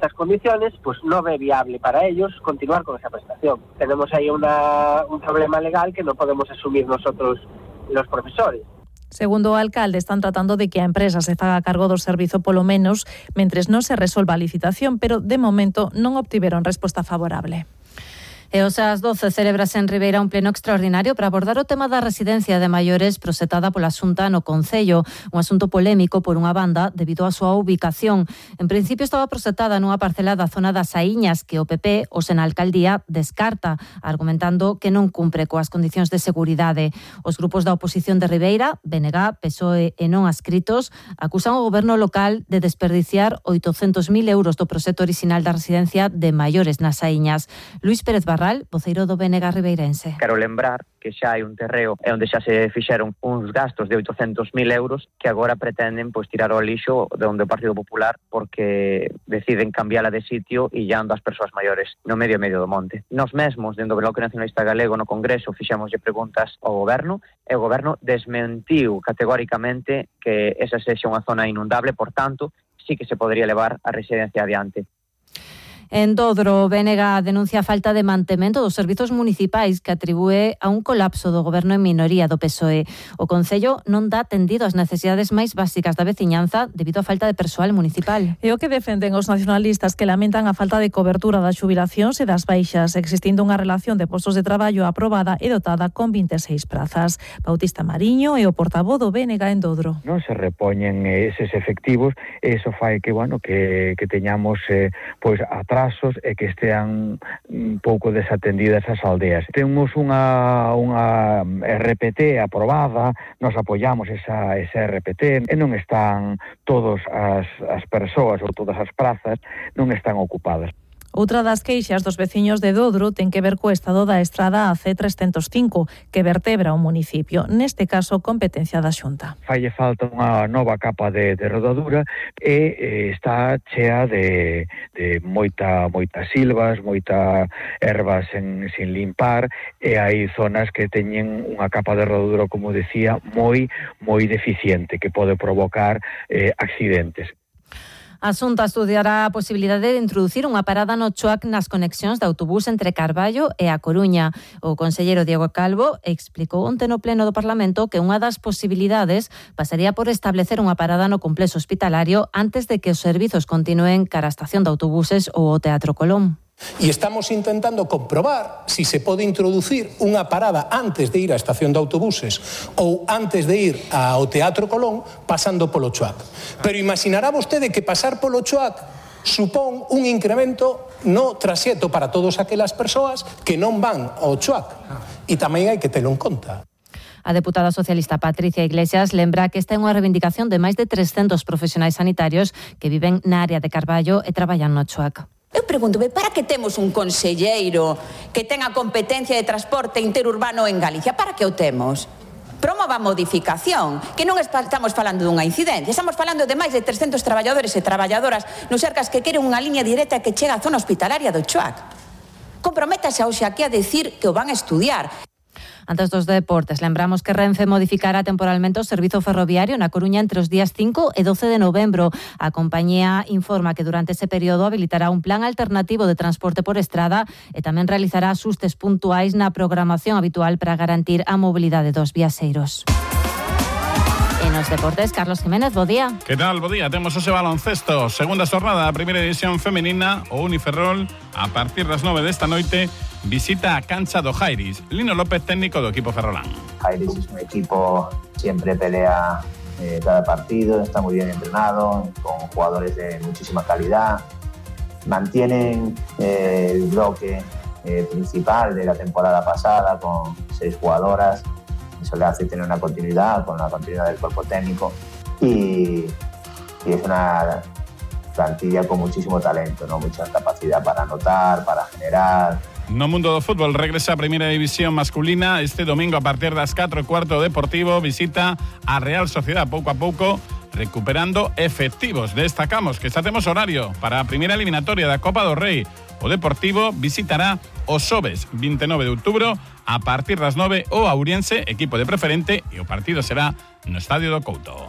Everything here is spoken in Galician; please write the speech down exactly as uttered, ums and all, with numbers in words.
estas condiciones, pues no ve viable para ellos continuar con esa prestación. Tenemos ahí una, un problema legal que no podemos asumir nosotros los profesores. Segundo o alcalde, están tratando de que a empresa se faga cargo do servizo polo menos mentres non se resolva a licitación, pero de momento non obtiveron resposta favorable. E os ás doce celebrase en Ribeira un pleno extraordinario para abordar o tema da residencia de maiores proxectada pola Xunta no Concello, un asunto polémico por unha banda debido á súa ubicación. En principio estaba proxectada nunha parcela da zona das Saíñas que o P P, os en alcaldía, descarta, argumentando que non cumpre coas condicións de seguridade. Os grupos da oposición de Ribeira, B N G, P S O E e non adscritos, acusan o goberno local de desperdiciar oitocentos mil euros do proxecto orixinal da residencia de maiores nas Saíñas. Luís Pérez Barral, voceiro do B N G ribeirense. Quero lembrar que xa hai un terreo e onde xa se fixeron uns gastos de oitocentos mil euros que agora pretenden pois tirar ao lixo de onde o Partido Popular porque deciden cambiala de sitio e illando as persoas maiores no medio medio do monte. Nos mesmos, dentro do Bloque Nacionalista Galego no Congreso, fixémoslle preguntas ao goberno e o goberno desmentiu categóricamente que esa sexa unha zona inundable, por tanto, sí que se podría levar a residencia adiante. En Dodro, o B N G denuncia a falta de mantemento dos servizos municipais que atribúe a un colapso do goberno en minoría do P S O E. O Concello non dá atendido ás necesidades máis básicas da veciñanza debido á falta de persoal municipal. E o que defenden os nacionalistas que lamentan a falta de cobertura das xubilacións e das baixas, existindo unha relación de postos de traballo aprobada e dotada con vinte e seis prazas. Bautista Mariño é o portavoz do B N G en Dodro. Non se repoñen eses efectivos, e iso fai que, bueno, que, que teñamos eh, pois atrás e que estean un pouco desatendidas as aldeas. Temos unha, unha R P T aprobada, nos apoiamos esa, esa R P T e non están todas as, as persoas ou todas as prazas non están ocupadas. Outra das queixas dos veciños de Dodro ten que ver co estado da estrada A C trescentos cinco, que vertebra o municipio, neste caso competencia da Xunta. Falle falta unha nova capa de, de rodadura e eh, está chea de, de moita, moitas silvas, moita ervas en, sin limpar, e hai zonas que teñen unha capa de rodadura, como decía, moi, moi deficiente, que pode provocar eh, accidentes. A Xunta estudiará a posibilidade de introducir unha parada no Choac nas conexións de autobús entre Carballo e A Coruña. O conselleiro Diego Calvo explicou onte no pleno do Parlamento que unha das posibilidades pasaría por establecer unha parada no complexo hospitalario antes de que os servizos continúen cara á estación de autobuses ou o Teatro Colón. E estamos intentando comprobar si se pode introducir unha parada antes de ir á estación de autobuses ou antes de ir ao Teatro Colón pasando polo Choac. Pero imaginará vostede que pasar polo Choac supón un incremento no traxecto para todas aquelas persoas que non van ao Choac. E tamén hai que telo en conta. A deputada socialista Patricia Iglesias lembra que esta é unha reivindicación de máis de trescentos profesionais sanitarios que viven na área de Carballo e traballan no Choac. Eu pregúntome, para que temos un conselleiro que tenga competencia de transporte interurbano en Galicia? Para que o temos? Promova a modificación, que non estamos falando dunha incidencia, estamos falando de máis de trescentos traballadores e traballadoras nos Sercas que queren unha liña directa que chega á zona hospitalaria do Choac. Comprométase hoxe aquí a decir que o van a estudiar. Antes dos deportes, lembramos que Renfe modificará temporalmente o servizo ferroviario na Coruña entre os días cinco e doce de novembro. A compañía informa que durante ese período habilitará un plan alternativo de transporte por estrada e tamén realizará axustes puntuais na programación habitual para garantir a mobilidade dos viaxeiros. E nos deportes, Carlos Jiménez, bo día. Que tal, bo día? Temos hoxe baloncesto. Segunda xornada da primeira división femenina, o Uniferrol, a partir das nove desta noite, visita a cancha do Jairis. Lino López, técnico do equipo ferrolán. Jairis es un equipo, siempre pelea eh, cada partido, está muy bien entrenado, con jugadores de muchísima calidad. Mantienen eh, el bloque eh, principal de la temporada pasada con seis jugadoras. Eso le hace tener una continuidad, con la continuidad del cuerpo técnico. Y, y es una plantilla con muchísimo talento, ¿no? Mucha capacidad para anotar, para generar. No mundo do fútbol regresa a primeira división masculina. Este domingo a partir das catro e cuarto o Deportivo visita a Real Sociedad pouco a pouco, recuperando efectivos. Destacamos que xa temos horario para a primeira eliminatoria da Copa do Rei. O Deportivo visitará o xoves vinte e nove de outubro a partir das nove o Auriense, equipo de preferente, e o partido será no Estadio do Couto.